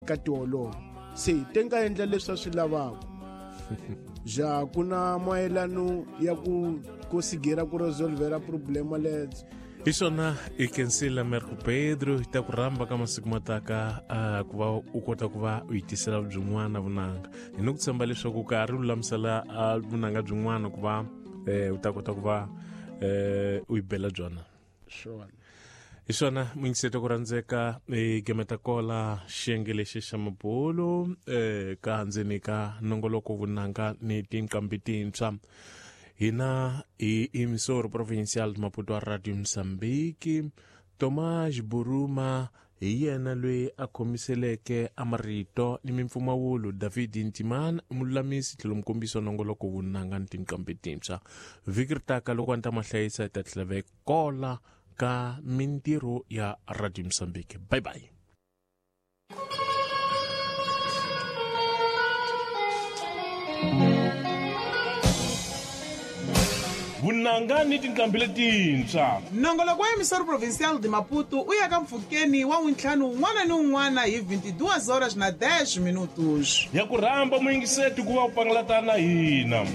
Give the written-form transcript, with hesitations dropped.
Ka tiholovo se te nga endla leswi a swi lavaka ja ku na mayelano ya ku konsigera ku resolvera problema ledzo. Hi swona, i kensile Merco Pedro. Hi ta ku rhamba ka masiku ma taka ku va u kota ku va u yi tisela byin'wana vunanga. Hi ni ku tshemba leswaku ka ri lulamisela vunanga byin'wana ku va u ta kota ku va u yi bela byona. Swona. Hi swona, muyingiseto ku rhandzeka, i gemeta kola xiyenge lexi xa mabulu ka ndzeni ka nongoloko Vunanga ni Tinqambi Tintshwa. Hina hi Emissor Provincial Maputo wa Radio Mozambique. Tomás Buruma hi yena loyi a khomiseleke a marito ni mimpfumawulo. David Ntimana mululamisi tlhelo mukombisi wa nongoloko Vunanga ni Tinqambi Tintshwa. Vhiki ri taka loko a ni ta ma hlayisa hi ta tlhela va kola ka mintirho ya Radio Mozambique. Bye bye. Vunanga ni Tinqambi Letintshwa. Nongoloko wa Emissor Provincial de Maputo u ya ka mpfhukeni wa n'wintlhanu wun'wana ni wun'wana hi 22 horas na 10 minutos. Ya ku rhamba muyingiseti ku va u pangalata na hina.